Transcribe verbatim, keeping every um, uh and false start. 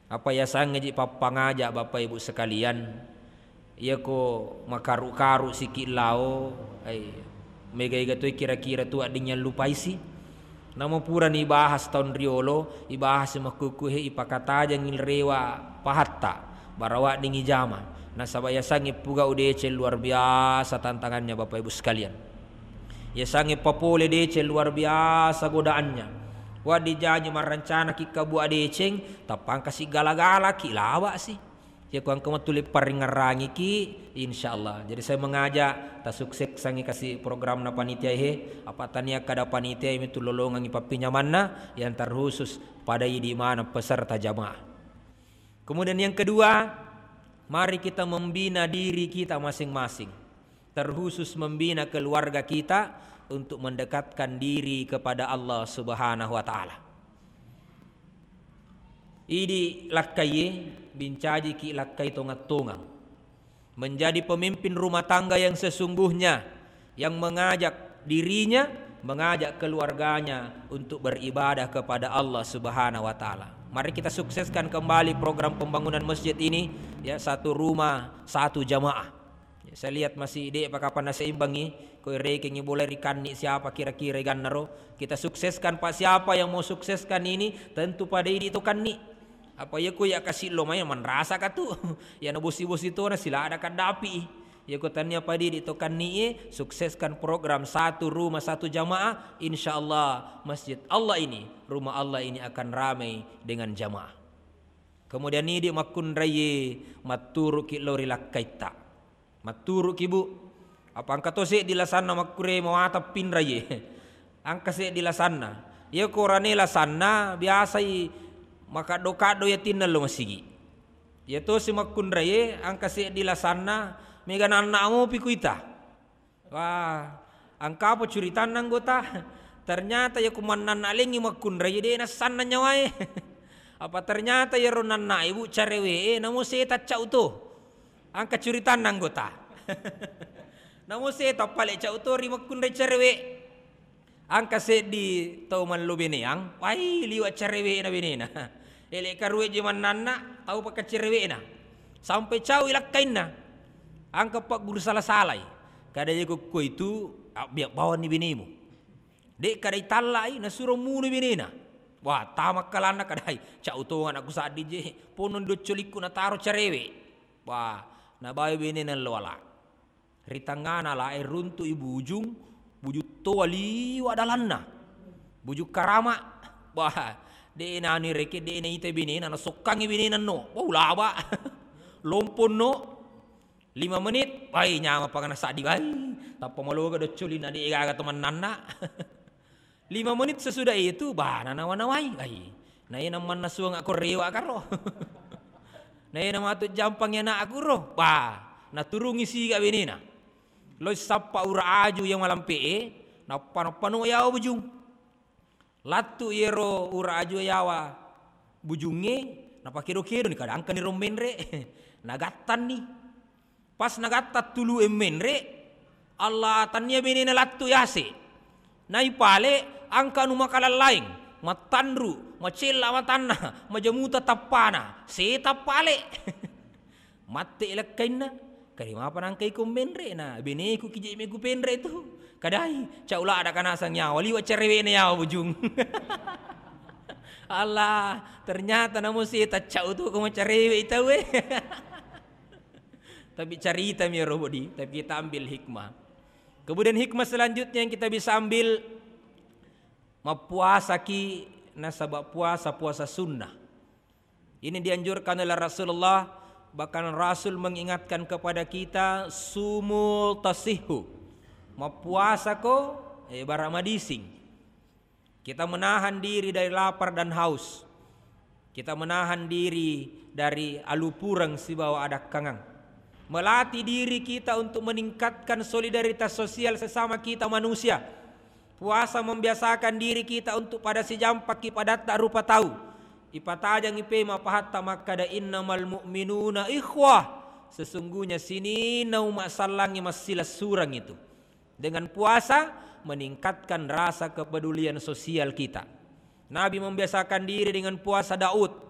Apa yasangnge ji pappangaja, Bapak Ibu sekalian, iyako makaru-karu siki lao, ai, mega-ega toi kira-kira tu wedding yallupaisi. Namo purani ibahas taung riolo, ibahas makkukkuhe, ipakatajengngi rewa pahatta, bara wedding ijama. Nasaba yasangnge puga udeceng luar biasa tantangannya, Bapak Ibu sekalian. Yasangnge papole deceng luar biasa godaannya. Wedding jaji marrencana ki kabua deceng, tappa engka si gala-gala ki, lawa si. Yako engka matuli paringngerrangi ki, insyaallah. Jadi saya mengajak, tasuksessangngi kasi programna panitia he, apa tania kada panitia mitu lolongengngi pappinyamanna yang terkhusus pada idi maneng peserta jamaah. Kemudian yang kedua, mari kita membina diri kita masing-masing, terkhusus membina keluarga kita untuk mendekatkan diri kepada Allah Subhanahu wa Ta'ala. Idi lakkaiye, bincajiki lakkai tongang-tongang. Menjadi pemimpin rumah tangga yang sesungguhnya, yang mengajak dirinya, mengajak keluarganya untuk beribadah kepada Allah Subhanahu wa Ta'ala. Mari kita sukseskan kembali program pembangunan masjid ini, ya, satu rumah, satu jamaah. Ya, saya lihat masih de' pa kapan naseimbangi, ko irekengngi bola ri Kanni siapa kira-kira gannaro. Kita sukseskan, Pak. Siapa yang mau sukseskan ini, tentu pada idi to Kanni. Apa iya ko iya kasi lo mai manrasa ka tu. Iya na bosi-bosi to na silada kaddapi. Iya ko tania pada idi to Kanni e, sukseskan program satu rumah satu jamaah, insyaallah masjid Allah ini, rumah Allah ini akan ramai dengan jamaah. Kemudian idi makkunraie matturuki lao ri lakkaitta. Matturuki, Bu. Apa engka to seddi lasanna makkure mawatang pinrai e. Engka seddi lasanna. Iya ko rane lasanna biasai makaddo-kaddo yatinna lo masigi. Iya tosi makkunrai e, engka seddi lasanna mega nanna mopi kuita. Wah, engka apa curitanna anggota? Ternyata iya ko mannanna lengngi makkunrai e, de' nassanna nyawae. Apa ternyata iyaro nanna ibu carewe e, namo seta cau to. Engka curitanna anggota. Namo seta pale cau to ri makkunrai carewe. Engka seddi tau mallo beneang, wai liwa carewe na benena. Ele karue je mannanna, tau pakkacerewena. Sampai cau i lakkainna. Engka pagguru sala-salai. Kada je ko itu, abbiak bawanni benemu. De' kada itallai, nasuro munu benena. Wah, tamakkalanna kadai, cau tonga anakku saddi je, ponno doccolikku nataro carewe. Wah, nabawa benena lo ala. Ri tengngana ala e runtu'i bujung, bujung toa liwa dalanna. Bujung karama. Wah, de' nani reke, de' naita benena, nasokkangi benena no. Wah, ulaba. Lomponno. Lima menit, wai, nyama pangana saddi, wai. Tappa maloga doccolinna, de' gaga to mannanna. Lima menit sesudah itu, bah, nanawa-nawai. Ai, naena mannasuang ako rewa karo. Naena matu jampang anakku ro. Bah, naturungi siga benena. Loi sappa ura aju yang malampe e, nappa-nappa no yawa bujung. Lattu iyaro ura aju yawa bujungnge, napakedo-kedo ni, kada engka ni ro menre. Nagattanni. Pas nagatta tulu e menre, Allah, tania benena lattu yase. Naipale, engka anu makalallaing, mattanru, macella matanna, majamuta tappana, seta pale. Matte lakkainna, kade mapa nangka iko menre na, beneku kije meku penre tu. Kadai, cau lada kanasang nyawa, liwa cerewena yawa bujung. Allah, ternyata namo seta cau tu ko macarewe tau e. Tapi carita mi ro bodi, tapi kita ambil hikmah. Kemudian hikmah selanjutnya yang kita bisa ambil, mappuasaki nasaba puasa, puasa sunnah. Ini dianjurkan oleh Rasulullah, bahkan Rasul mengingatkan kepada kita, "Sumu tasihu." Mappuasako, eh, bara madising. Kita menahan diri dari lapar dan haus. Kita menahan diri dari alupureng sibawa adakkangang. Melatih diri kita untuk meningkatkan solidaritas sosial sesama kita manusia. Puasa membiasakan diri kita untuk pada sijampakki padatta rupa tau. Ipatajangi pe mapahatta makkada, "Innamal mu'minuna ikhwah." Sesungguhnya sininna umma sallangnge massilessureng itu. Dengan puasa, meningkatkan rasa kepedulian sosial kita. Nabi membiasakan diri dengan puasa Daud.